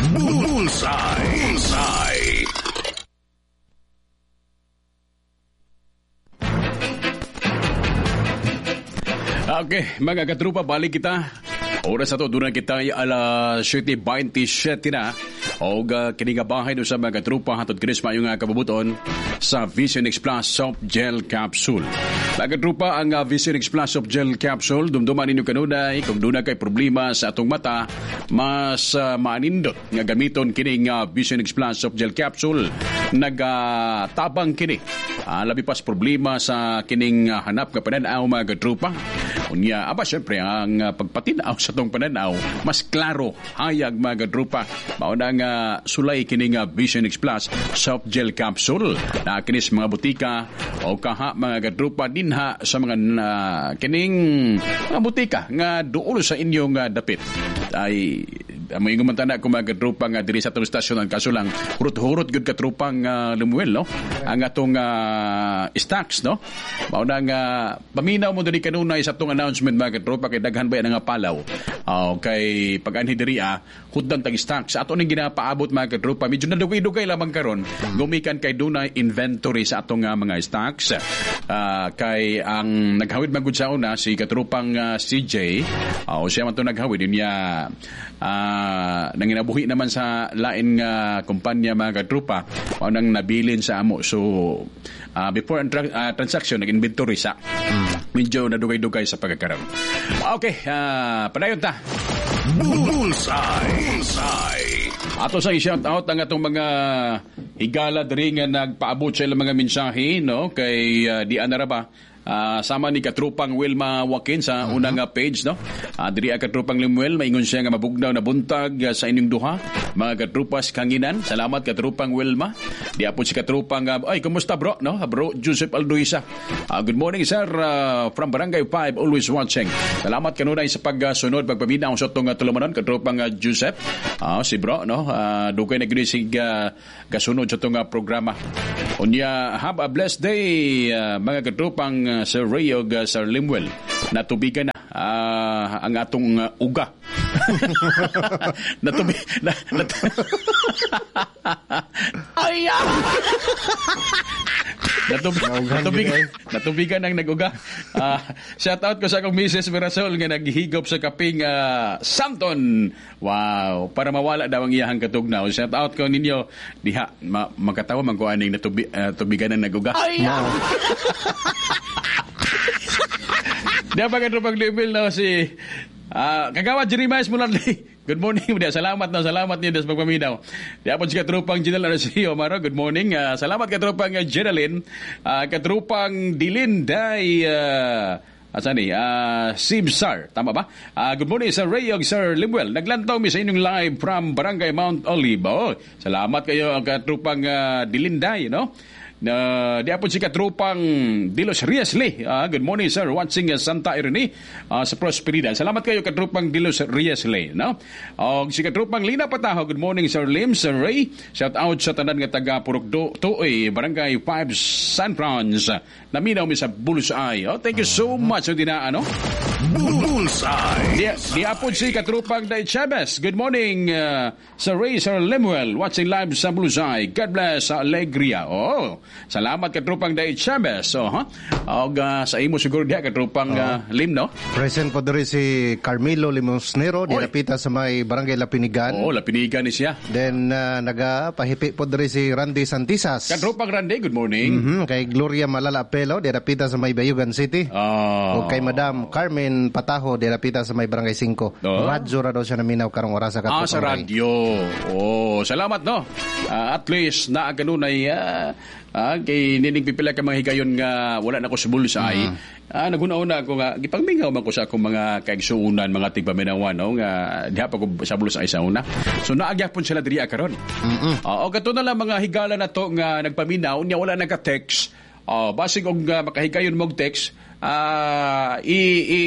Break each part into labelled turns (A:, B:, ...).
A: Bullseye. Bullseye.
B: Okay, mga katrupa, balik kita. Oras na to, doon na kita ay alas 7:27 na. O kini nga bahay no sa mga katrupa, hatod kinis maayong kabubuton sa Vision X Plus Soft Gel Capsule. Mga katrupa, ang Vision X Plus Soft Gel Capsule, dumduman ninyo kanunay, kung doon na kay problema sa atong mata, mas maanindot nga gamiton kining Vision X Plus Soft Gel Capsule. Nagatabang kini. Labi pas problema sa kining hanap nga pananaw, mga katrupa. Unya, aba syempre ang pagpatinaw sa tong pananaw, mas klaro, hayag, mga katrupa. Mao na nga sulay kining Vision X Plus Soft Gel Capsule. Na kini sa mga butika o kaha, mga katrupa, dinha sa mga kining mga butika nga duol sa inyong dapit. Ay may man na ko, mga katrupa, nga diri sa atong istasyon ang kaso lang hurot-hurot gyud, katrupang Lemuel, no, ang atong stocks, no. Mao na nga paminaw mo diri kanunay sa atong announcement, mga katropa, kay daghan ba nga palaw. Oh, kay pag anhi diri huddan tag stocks ato ning ginapaabot, mga katropa. Medyo nadugay-dugay lamang karon gumikan kay dunay inventory sa atong mga stocks. Kay ang naghawid man gud sa una si katrupang CJ. Oh, siya man to naghawid niya, nanginabuhi naman sa lain nga kumpanya, mga katropa, mao nang nabilin sa amo. So before ang transaction, nag-inventory sa medyo nadugay-dugay sa pagkakaroon. Okay, padayon ta.
A: Bullseye. Bullseye.
B: Ato sa i-shout out ang atong mga higala diri nga nagpaabot sa ilang mga mensahe, no, kay di ana ra ba. Sama ni katrupang Wilma Joaquin sa unang page, no. Diri ang katrupang Lemuel, maingon siya nga mabugnaw na buntag sa inyong duha, mga katrupas kanginan. Salamat, katrupang Wilma. Di apod si katrupang ay kumusta bro, no? Bro Joseph Alduisa. Good morning, sir, from Barangay 5, always watching. Salamat kanunay sa pagsunod, pagpaminaw sa atong tulumanon, katrupang Joseph. Si bro, no. Dugay na gyud sig gasunod sa atong programa. Unya, have a blessed day, mga katrupang Sir Ray ug Sir Lemuel. Natubigan na ang atong uga. Natubi na, nat Ay! Ah! Natubigan ang naguga. Shout out ko sa akong Mrs. Mirasol nga naghigop sa kaping Samton. Wow, para mawala daw ang iyahang katugnaw. Shout out ko ninyo diha makatawa man ko aning tubigan ang naguga. Ay! Ah! Di pa katropang Lemuel, no, si Kagawad Jeremias Muladli. Good morning. Dia salamat na salamat niyo sa pagpaminaw. Di apod si katrupang General Arceo Maro. Good morning. Salamat, katrupang Geraldine. Katrupang Dilinday asa ni? Sibsar. Tama ba? Good morning, Sir Ray ug Sir Lemuel. Naglantaw mi sa inyong live from Barangay Mount Olive. Oh, salamat kayo ang katrupang Dilinday, no? Na di apod si katrupang Dilos Riesley. Good morning, sir. Watching Santa Irene sa Prosperidad. Salamat kayo, katrupang Dilos Riesley, no? Og si katrupang Lina Pataho. Good morning, Sir Lim, Sir Ray. Shout out sa tanan nga taga Purok Tuoy, Barangay 5, San Franz. Naminaw mi sa Bullseye. Oh, thank you so much. So, dinaa, no?
A: Bullseye.
B: Di apod si katrupang Day Chavez. Good morning, Sir Ray, Sir Lemuel. Watching live sa Bullseye. God bless sa Alegria. Oh, salamat, katrupang Day Chavez. Oh, ha? Og sa imo siguro diha, katrupang Lim, no?
C: Present po diri si Carmelo Limosnero,
B: Oy.
C: dinapita sa may Barangay Lapinigan.
B: Oh, lapinigan ni siya.
C: Then nagapahipi po diri si Randy Santisas.
B: Katrupang Randy, good morning.
C: Kay Gloria Malala Apelo, dinapita sa may Bayugan City. O kay Madam Carmen Pataho, dinapita sa may Barangay 5.
B: Oh.
C: Radyo ra daw siya naminaw karong oras sa
B: Ah, sa
C: Katrupang Ray.
B: radyo. Oh, salamat, no. At least naa kanunay kay nining pipila ka mga higayon nga wala na ko sa Bullseye. Naghuna-una ako nga gipangmingaw man ko sa akong mga kaigsuonan, mga tigpaminawan, no, nga diha pa ko sa Bullseye sa una. So naagyapon sila diri karon. O kato na lang mga higala na to nga nagpaminaw nya wala nagka-text. Basig og makahigayon mog text, i i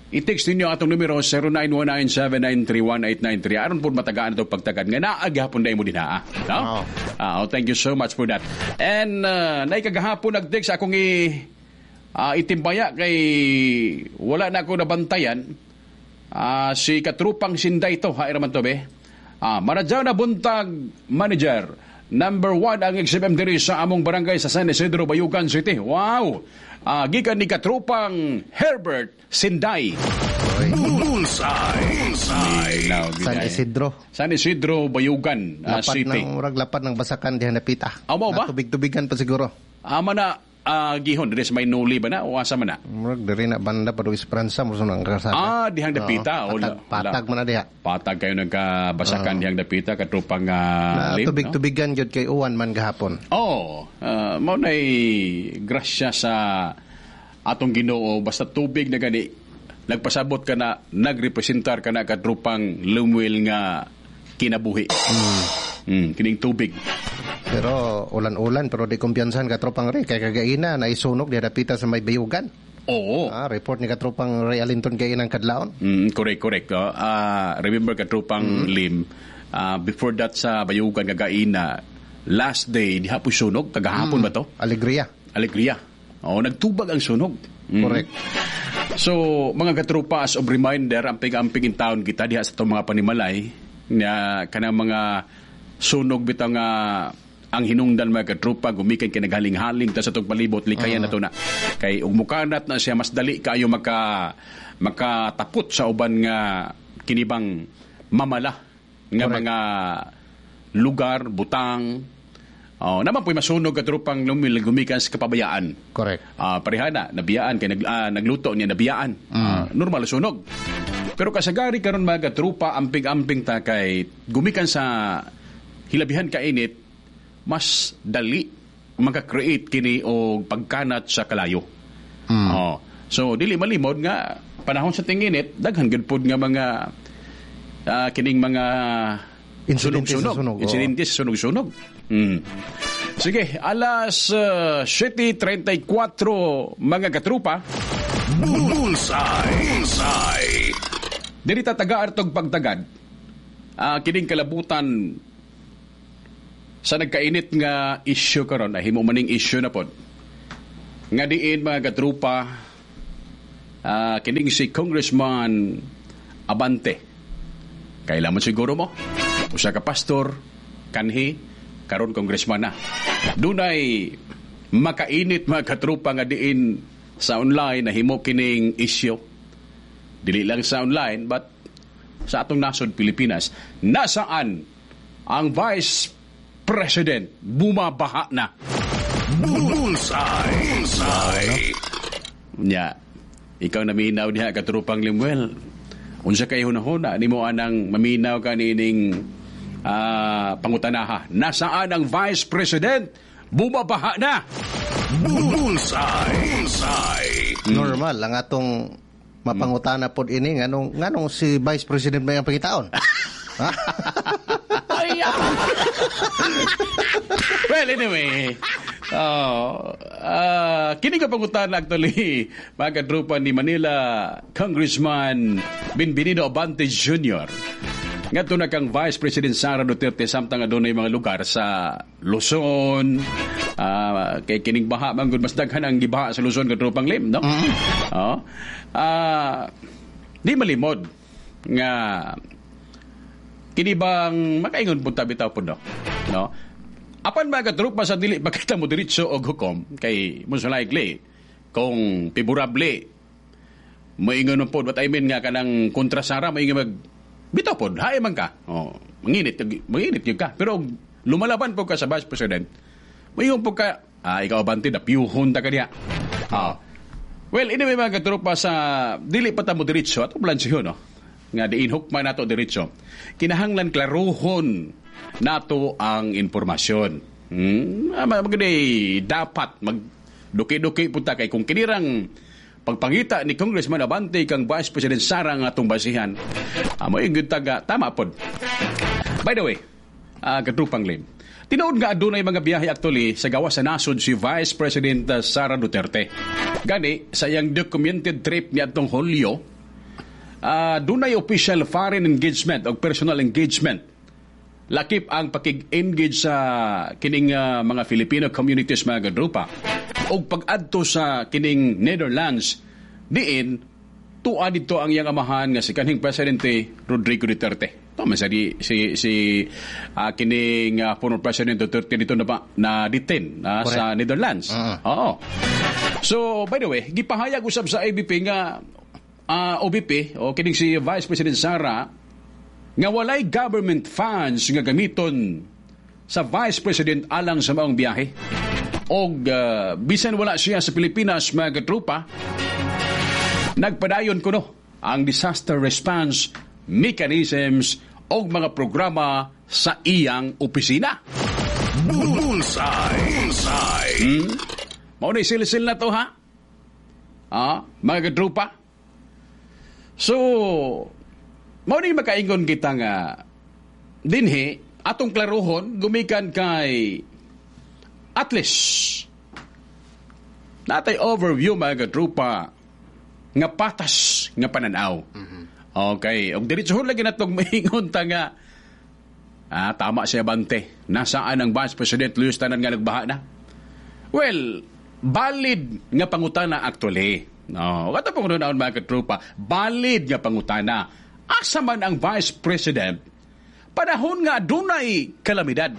B: i-text ninyo ang atong numero 0919-793-1893 aron po matagaan itong pagtagad nga naaghapon na mo din ha. No?
C: Oo.
B: Oh, thank you so much for that. And naikagahapon nag-text akong itimbaya kay wala na ako nabantayan. Si katrupang Sinday to, ha, man to be. Maradyaw na buntag, manager. Number 1 ang XFM diri sa among barangay sa San Isidro, Bayugan City. Wow! Gikan ni katropang Herbert Sinday.
A: Bullseye. Bullseye.
C: San Isidro.
B: San Isidro, Bayugan
C: Lapat
B: City.
C: ng murag lapat ng basakan diha napita.
B: Mao ba?
C: Tubig-tubigan pa siguro.
B: Ama na gihon diri sa may nuli ba na o asa man na?
C: Murag diri na banda pa do Esperanza mo ang kalsada.
B: Dihang dapita.
C: Oo, patag, patag man na diha.
B: Patag kayo nagkabasakan dihang dapita katropang
C: Na
B: lim, no?
C: tubig-tubigan gyud kay uwan man gahapon.
B: Oh, mao na'y grasya sa atong Ginoo, basta tubig na gani nagpasabot ka na nagrepresentar ka na katrupang Lemuel nga kinabuhi. Kining tubig.
C: Pero ulan-ulan pero di kumpiyansahan katropang Ray kay kagaina na isunog diha dapita sa may Bayugan.
B: Oo.
C: Report ni katropang Ray Alinton kay inang kadlawon.
B: Correct, correct. Oh. Remember katrupang Lim, before that sa Bayugan kagaina, last day diha po sunog kagahapon ba to?
C: Alegria.
B: Alegria. Oh, nagtubag ang sunog.
C: Correct.
B: So, mga katropa, as of reminder, amping-amping in town kita diha sa itong mga panimalay na kanang mga sunog bitaw nga ang hinungdan mga katropa gumikan kay naghaling-haling ta sa itong palibot, likayan na to na. Kay ug mukanat na siya mas dali kaayo makatapot sa uban nga kinibang mamala nga
C: Correct.
B: mga lugar, butang. Oh, naman po'y masunog katropang lumil gumikan sa kapabayaan.
C: Correct.
B: Parehana, nabiyaan kay nagluto niya nabiyaan. Normal sunog. Pero kasagari karon mga katrupa amping-amping ta kay gumikan sa hilabihan kainit mas dali maka-create kini og pagkanat sa kalayo. Oh. So dili malimod nga panahon sa tinginit daghan gyud pod nga mga kining mga
C: Insidente sa
B: sunog-sunog.
C: sunog, oo.
B: Insidente sa sunog-sunog. Sige, alas 7:34 mga katrupa.
A: Bullseye. Bullseye.
B: Diri ta taga artog pagtagad. Kining kalabutan sa nagkainit nga issue karon ay himo maning issue na pod. Nga diin mga katrupa, kining si Congressman Abante. Kailangan siguro mo usa ka pastor kanhi karon congressman na. Dunay makainit mga katrupa nga diin sa online na himo kining issue. Dili lang sa online but sa atong nasod Pilipinas, nasaan ang Vice President bumabaha na?
A: Bullseye. Bullseye.
B: Nya, ikaw naminaw diha katrupang Lemuel. Unsa kay hunahuna nimo anang maminaw ka niining pangutanaha? Nasaan ang Vice President? Bumabaha na.
A: Bullseye. Bullseye.
C: Normal ang atong mapangutana pod ini nganong si Vice President may ang pangitaon. Ha?
B: Well, anyway, kini ka pangutana actually mga kadrupa ni Manila Congressman Benvenino Abante Jr. Ngadto na kang Vice President Sara Duterte samtang adunay mga lugar sa Luzon, kay kining baha man gud mas daghan ang gibaha sa Luzon kadrupang Lim, no? Oo. Di malimod nga kini bang makaingon pud ta bitaw pud, no? No? Apan mga katrupa sa dili makita mo diretso og hukom kay most likely kung favorable moingon man pod, what I mean nga kanang kontra Sara moingon mag bitaw pod hae man ka. Oh, manginit gyud ka. Pero lumalaban pod ka sa Vice President, moingon pod ka, ikaw Abante na piyuhon ta kaniya. Well, anyway mga katrupa sa dili pa ta mo diretso ato blansiho, no? Nga diin hukman nato diretso. Kinahanglan klaruhon nato ang impormasyon. Magday dapat magduki-duki punta kay kung kinirang pagpangita ni Congressman Abante kang Vice President Sara nga atong basihan. Mo gyud taga tama pod. By the way, katrupang Lim. Tinuod nga adunay mga biyahe actually sa gawas sa nasod si Vice President Sara Duterte. Gani sa iyang documented trip niadtong Hulyo, dunay official foreign engagement o personal engagement. Lakip ang pakig-engage sa kining mga Filipino communities mga kadrupa og pag-adto sa kining Netherlands diin tuwa didto ang iyang amahan nga si kanhing Presidente Rodrigo Duterte. Tama sa di si si kining former President Duterte dito na ba na detain sa Netherlands. Oo. So by the way, gipahayag usab sa ABP nga OBP o kining si Vice President Sara nga walay government funds nga gamiton sa Vice President alang sa maong biyahe. Og bisan wala siya sa Pilipinas, mga katrupa, nagpadayon kuno ang disaster response mechanisms og mga programa sa iyang opisina.
A: Bullseye. Bullseye.
B: Mao ni silsil na to, ha? Mga katrupa. So, mao ni makaingon kita nga dinhi atong klaruhon gumikan kay at least natay overview, mga katrupa, nga patas nga pananaw. Okay, og diretsohon lagi natong maingon ta nga tama siya Bante. Nasaan ang Vice President Luis tanan nga nagbaha na? Well, valid nga pangutana actually. No, kato pong nunaon, mga katrupa, valid nga pangutana. Asa man ang Vice President panahon nga dunay kalamidad?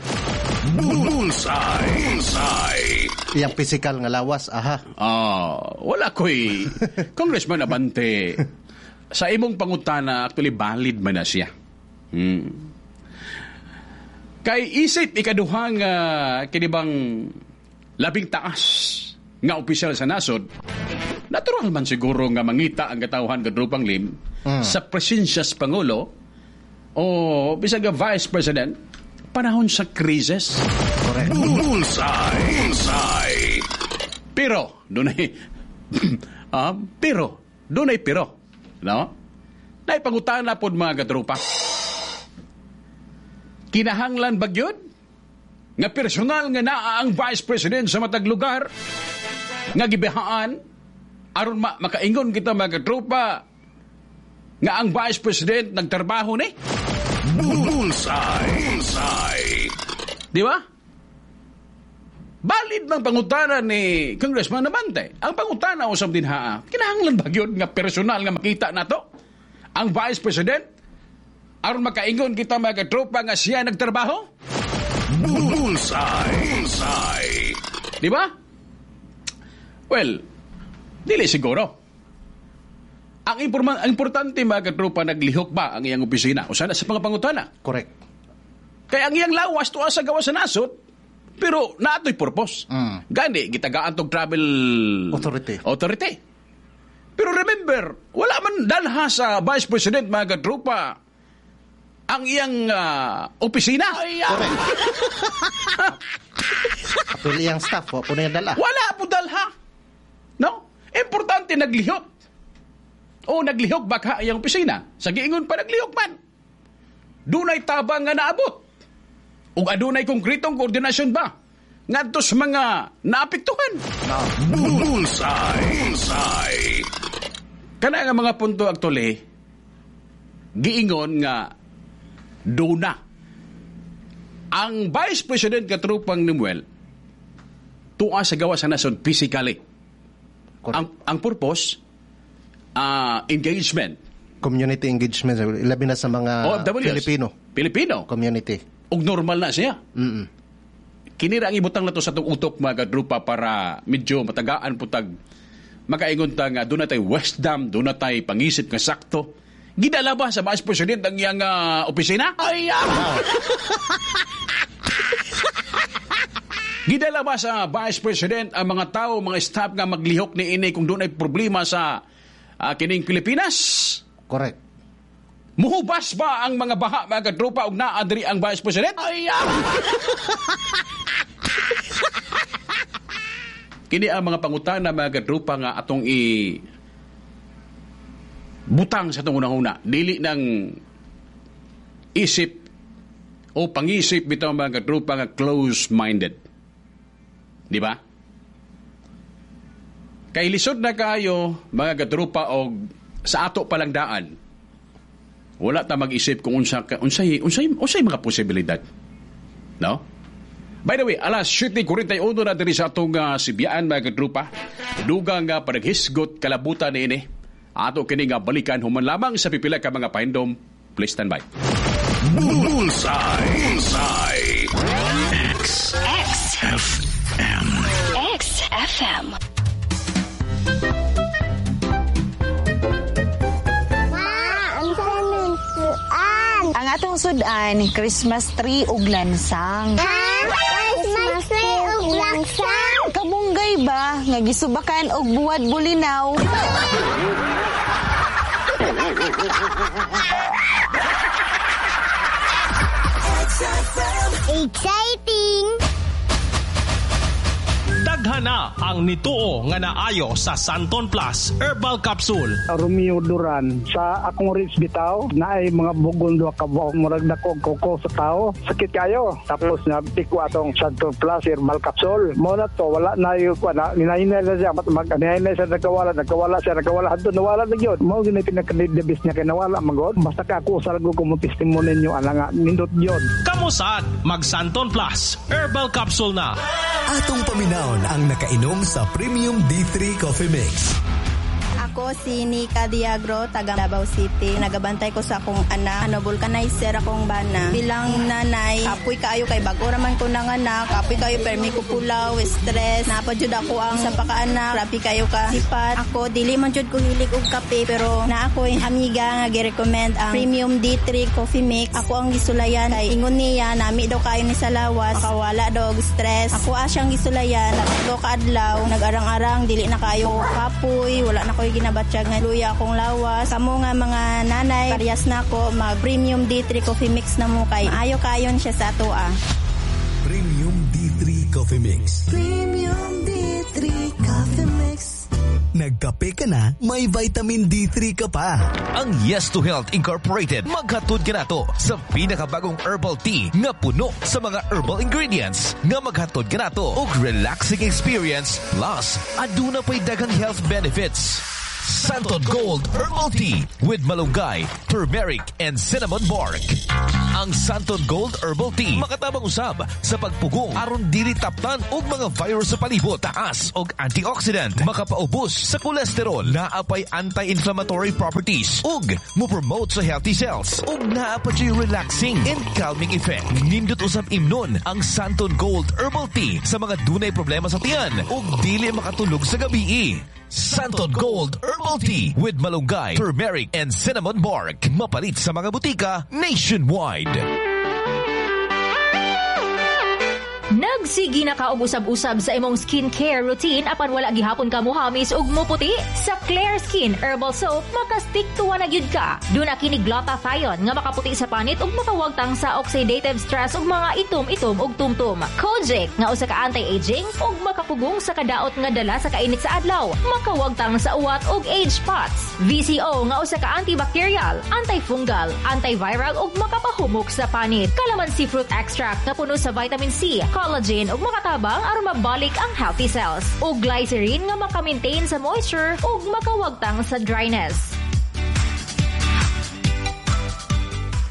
A: Bullseye. Bullseye.
C: Iyang physical nga lawas, aha.
B: Wala ko'y Congressman Abante. Sa imong pangutana, actually valid man na siya. Kay isip ikaduhang kinibang labing taas nga opisyal sa nasod, natural man siguro nga mangita ang katawhan kadrupang Lim sa presensya sa Pangulo o bisag nga Vice President panahon sa krisis.
C: Correct.
A: Bullseye. Bullseye.
B: Pero dunay pero dunay pero, no? Naipangutana pod, mga katropa. Kinahanglan ba gyud nga personal nga naa ang Vice President sa matag lugar nga gibahaan aron makaingon kita, mga katropa, nga ang Vice President nagtrabaho ni?
A: Bullseye. Bullseye.
B: Di ba? Valid ng pangutana ni Congressman Abante. Ang pangutana usab din ha, kinahanglan ba gyud nga personal nga makita nato ang Vice President aron makaingon kita, mga katropa, nga siya nagtrabaho?
A: Bullseye. Bullseye.
B: Di ba? Well, dili siguro. Ang importante, mga katropa, naglihok ba ang iyang opisina? O sana sa mga pangutana.
C: Correct.
B: Kaya ang iyang lawas tuwa sa gawas sa nasod, pero naatoy purpose. Gani, gitagaan tong travel
C: authority.
B: Authority. Pero remember, wala man dalha sa Vice President, mga katropa, ang iyang opisina.
C: Correct. Apil iyang staff, wa po na dala.
B: Wala po dalha. No? Importante, naglihok. O naglihok baka iyang opisina. Sa giingon pa, naglihok man. Dunay tabang nga naabot. Ug adunay konkretong koordinasyon ba ngadto sa mga naapektuhan?
C: No.
A: Bullseye. Bullseye.
B: Kana nga mga punto actually giingon nga duna ang Vice President, katrupang Nemuel, tuwa sa gawas sa nasod physically.
C: Correct.
B: Ang purpose, engagement.
C: Community engagement, labi na sa mga
B: OFWs.
C: Filipino
B: Pilipino.
C: community.
B: Ug normal na siya.
C: Mm-mm.
B: Kinira ang ibutang na to sa atong utok, mga kadrupa, para medyo matagaan putag makaingon ta nga doon na tay wisdom, doon na tay pangisip nga sakto. Gidala ba sa Vice President ang iyang opisina? Ay, Gidala ba sa Vice President ang mga tao, mga staff nga maglihok ni ini kung doon ay problema sa kining Pilipinas?
C: Correct.
B: Muhubas ba ang mga baha, mga kadrupa, og naa diri ang Vice President? Ay, Kini ang mga pangutana, mga kadrupa, nga atong i butang sa atong unang-una. Dili ng isip o pangisip bitaw, mga kadrupa, nga close-minded. Di ba? Kay lisod na kaayo, mga kadrupa, og sa ato palang daan wala ta mag-isip kung unsa unsay unsay unsay mga posibilidad. No? By the way, alas 7:41 na diri sa atong sibiyaan, mga kadrupa. Dugang nga panaghisgot kalabutan niini. Ato kini nga balikan human lamang sa pipila ka mga pahinom. Please stand by.
A: Bullseye. Bullseye. X.
D: X.
A: F. M.
D: X FM.
E: Ma, ang sa suan.
F: Ang atong sudan, Christmas tree ug lansang.
E: Ha? Christmas tree ug lansang?
F: Kamunggay ba nga gisubakan og buwad bulinaw?
E: Exciting!
G: Daghan na ang nituo nga naayo sa Santon Plus Herbal Capsule.
H: Romeo Duran sa akong ribs bitaw naay mga bugon duha ka buok murag dako koko sa tao, sakit kayo. Tapos na piko atong Santon Plus Herbal Capsule mo na to, wala na yung na ninahinay na siya, mag ninahinay siya, nagkawala siya, nagkawala hadto nawala na gyud. Mao gyud pinaka-the best niya kay nawala magod. Basta ka ako sa ko mo testimony ninyo ana nga nindot gyud.
G: Kamusad mag Santon Plus Herbal Capsule na.
I: Atong paminawon ang nakainom sa Premium D3 Coffee Mix.
J: Ako si Nika Diagro, taga Davao City. Nagabantay ko sa akong anak. Ano, vulcanizer akong bana. Bilang nanay, kapoy kaayo kay bago raman ko nanganak. Kapoy kayo permi ko pulaw, stress. Napa jud ako ang sa pakaanak. Grabe kayo ka sipat. Ako dili man jud ko hilig og kape, pero na ako amiga nga gi-recommend ang Premium D3 Coffee Mix. Ako ang gisulayan kay ingon niya nami daw kayo ni sa lawas. Makawala daw og stress. Ako asyang gisulayan. Tatlo ka adlaw, nag-arang-arang dili na kayo kapoy, wala na koy ginabatsyag nga luya akong lawas. Kamo nga mga nanay, parehas na ako mag Premium D3 Coffee Mix na mo kay ayo kayon siya sa atoa.
I: Premium D3 Coffee Mix.
K: Premium D3 Coffee Mix.
I: Nagkape ka na, may vitamin D3 ka pa.
L: Ang Yes to Health Incorporated maghatod kanato sa pinakabagong herbal tea nga puno sa mga herbal ingredients nga maghatod kanato og relaxing experience plus aduna pay daghang health benefits. Santon Gold Herbal Tea with malunggay, turmeric, and cinnamon bark. Ang Santon Gold Herbal Tea makatabang usab sa pagpugong aron dili taptan og mga virus sa palibot, taas og antioxidant, makapaubos sa kolesterol, naa pay anti-inflammatory properties ug mo-promote sa healthy cells ug naa pa jud relaxing and calming effect. Nindot usab imnon ang Santon Gold Herbal Tea sa mga dunay problema sa tiyan ug dili makatulog sa gabii. Santon Gold Herbal Tea with malunggay, turmeric, and cinnamon bark. Mapalit sa mga butika nationwide.
M: Nagsige na ka og usab-usab sa imong skincare routine apan wala gihapon ka muhamis ug muputi? Sa Claire Skin Herbal Soap, makastick to na gyud ka. Duna kini glutathione nga makaputi sa panit ug makawagtang sa oxidative stress ug mga itom-itom ug tumtum. Kojic nga usa ka anti-aging ug makapugong sa kadaot nga dala sa kainit sa adlaw, makawagtang sa uwat ug age spots. VCO nga usa ka antibacterial, antifungal, antiviral ug makapahumok sa panit. Calamansi fruit extract nga puno sa vitamin C, collagen ug makatabang aron mabalik ang healthy cells. Ug glycerin nga maka-maintain sa moisture ug makawagtang sa dryness.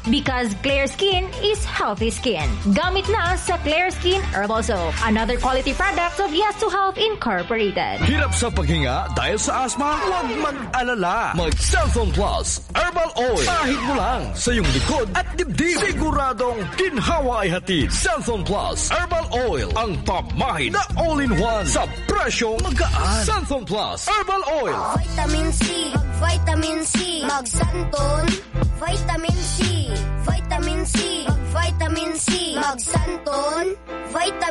M: Because clear skin is healthy skin. Gamit na sa Clear Skin Herbal Soap. Another quality product of Yes to Health Incorporated.
N: Hirap sa paghinga dahil sa asthma? Huwag mag-alala. Mag Xanthone Plus Herbal Oil. Pahid mo lang sa iyong likod at dibdib. Siguradong ginhawa ay hatid. Xanthone Plus Herbal Oil. Ang pamahid na all-in-one sa presyong magaan. Xanthone Plus Herbal Oil.
E: Vitamin C, mag-vitamin C, mag-Santon, vitamin C, vitamin C, mag-vitamin C, mag-Santon, vitamin